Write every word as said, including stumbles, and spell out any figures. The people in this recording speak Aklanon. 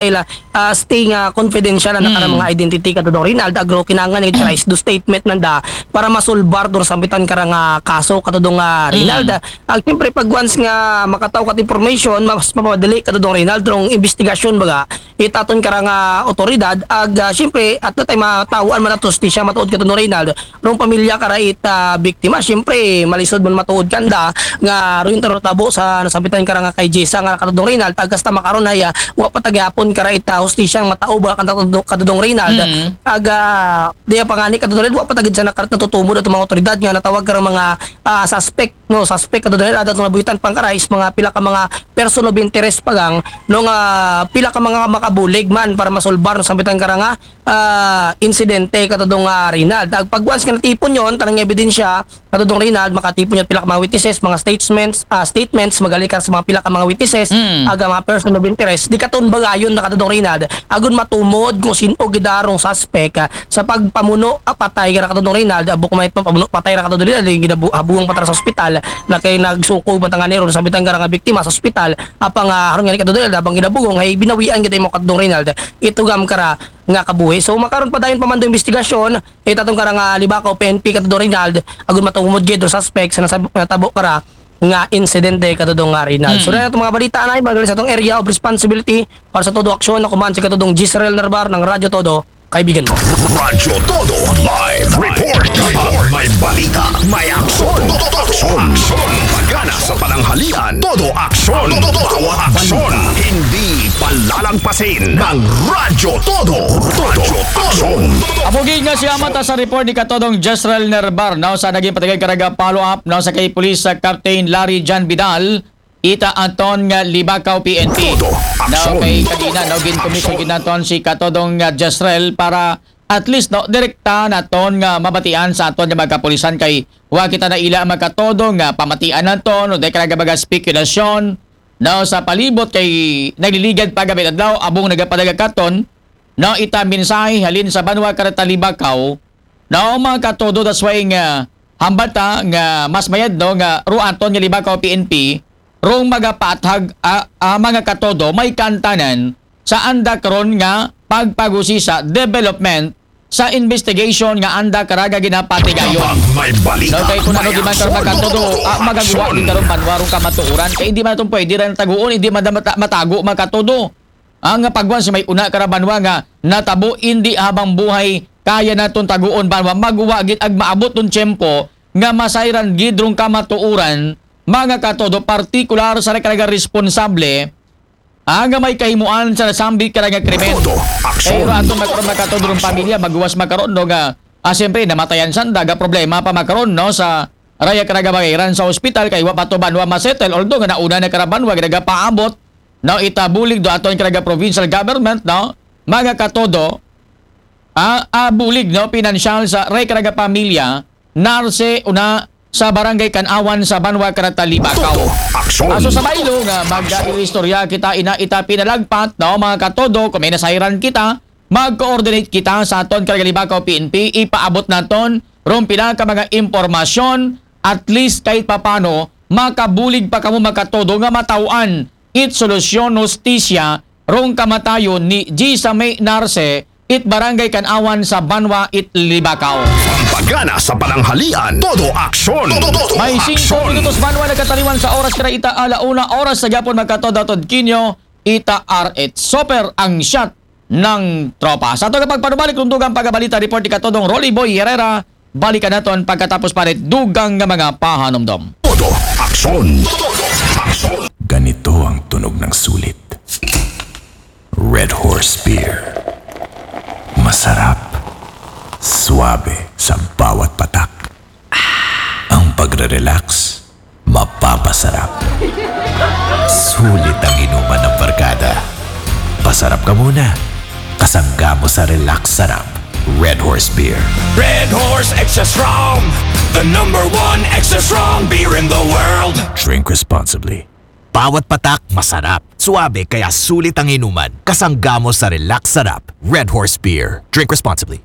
ila, ah, stay nga confidential na kara Mm. mga identity, Katodong Rinald, agro kinahanglan nga i-try do statement nanda para masolbar do sambitan kara nga kaso, Katodong, ah, Rinald. Mm. Ag siyempre, pag once nga makataw kat information, mas mapadali, Katodong Rinald, rong investigasyon baga, it aton kara nga otoridad, ag, ah, siyempre, at na tayo matawaan man at hustisya matuod, Katodong Rinald, rong pamilya kara it, ah, biktima, siyempre, malisod man matuod kanda, nga rin taro tabo sa nasambitan kara nga kay Jessa nga, Katodong Rinald, ag hasta makaron ay, ah, wa pa tagyapon kara it, ah, hustisya nga matao ba, Katodong, Katodong Rinald. Mm. Ag, ah, di pa nga ni, Katodong Rinald, wa pa tagid sa nakarat natutumod at mga otoridad nga natawag kara mga, ah, suspect, no, suspect, Katodong Rinald, at nga buhitan pang kara is mga pila ka mga person of interest pa gang, no, nga pila ka mga makabulig man para masolbar, no, sambitan kara nga, ah, insidente, Katodong, ah, Rinald. Ag pag once nga natipon yon, tanang ebidensya, Katodong Rinald, makatipon yon pila ka mga witnesses, mga statements, ah, statements, magali ka sa mga pila ka mga witnesses, Mm. aga mga person of interest, di katon bagayon na, Katodong Rinald, agun matumod kung sino gidarong suspect, ah, sa pagpamuno a patay kara, Katodong Rinald, abo kung may pamuno patay ra, Katodong Rinald, yung ginabu-, habuang patara sa ospital, na kay nagsuko ba tangan ron, sambitan kara nga biktima sa ospital, apang, ah, haron nga ni, Katodong Rinald, abang ginabugong, ay binawian kita mo, Katodong Rinald, itugam kara nga kabuhi. So, makaron pa dayon pa man do investigasyon, eh, tatong kara nga Libacao P N P, Katodong Rinald, agun matumod gid do suspect sa nasab-, natabo kara nga insidente, Katodong, ah, Rinald. So, Mm. na itong mga balita na, magaling sa itong area of responsibility para sa Todo Aksyon, na kuman si Katodong Jezreel Nerbar ng Radyo Todo, kaibigan mo. Radyo Todo Live Report. Kapag may balita, may aksyon. Todo aksyon. Pagana sa pananghalian, todo aksyon. Bawat aksyon. Hindi palalampasin ng Radyo Todo. Todo aksyon. Apugid nga si Amata sa report ni Katodong Jezreel Nerbar, no, sa naging patagay karaga follow-up, no, sa kay Police, sa Captain Larry John Vidal, ita aton nga Libacao P N P. Todo No, aksyon. kay kanina, no, ginkumis sa ginaton si Katodong nga Jezreel para at least, no, direkta naton nga mabatian sa aton nga mga kapulisan kay wa kita na ila makatodo nga pamatian naton, no, dahil karaga mga spekulasyon, no, sa palibot kay nagliligad pa gabi adlaw, abong nagapadagakaton, no, ita mensahe halin sa banwa karata Libacao, no, mga katodo, that's why nga hambata nga mas mayad, no, nga ruaton nga Libacao P N P, rong magapaathag, ah, ah, mga katodo, may kantanan sa anda karon nga pagpagusisa development sa investigation nga anda karaga ginapatigayon. Kapag may balita, No, kay kung ano may di man aksyon. karon magkatodo, ah, magagawa Aksyon. din karon banwa rong kamatuoran. Kay hindi man itong pwede rin taguon, hindi man mata- matago magkatodo. Ang pagwan si may una kara banwa nga natabo, hindi habang buhay kaya naton taguon banwa, magwa gid ag maabot tong tiyempo nga masayran gid rong kamatuoran, mga katodo, partikular sa karaga responsable, ah, nga may kahimuan sa nasambi karaga krimen. Todo aksyon. Pero aton makaron makatod rong pamilya, maguwas makaron, no, nga, ah, siyempre, namatayan sanda, ga problema pa makaron, no, sa raya karaga bagayran sa ospital, kay wa pa to banwa masettle, although nga nauna na kara banwa, nagapaabot, no, ita bulig do aton karaga provincial government, no, mga katodo, ah, ah, bulig, no, pinansyal sa raya karaga pamilya, narse una sa barangay Kanawan sa banwa karata Libacao. Todo aksyon. Aso sa baylo nga mag-istorya kita ina ita pinalagpat, no, mga katodo, kung may nasayran kita, mag-coordinate kita sa aton karaga Libacao P N P, ipaabot naton rong pila ka mga impormasyon, at least kahit papano makabulig pa kamo makatodo nga matawan it solusyon, hustisya rong kamatayon ni Jessa May Narse, it barangay Kanawan sa banwa it Libacao. Pagana sa pananghalian, todo aksyon. Todo May singko aksyon. minutos banwa nagkataliwan sa oras kara ita ala una oras sa gapon, magkatodo tod kinyo, ita R H Super ang shot ng tropa. Sa ato kapag panubalik, rong dugang pagabalita, report ni katodong Rolly Boy Herrera, balikan naton pagkatapos pa rin dugang nga mga pahanumdom. Todo aksyon. Todo aksyon. Ganito ang tunog ng sulit. Red Horse Beer. Masarap. Suabe sa bawat patak. Ang pagre-relax, mapapasarap. Sulit ang inuman ng barkada. Pasarap ka muna. Kasangga mo sa Relax Sarap. Red Horse Beer. Red Horse Extra Strong. The number one extra strong beer in the world. Drink responsibly. Bawat patak, masarap. Suabe, kaya sulit ang inuman. Kasangga mo sa Relax Sarap. Red Horse Beer. Drink responsibly.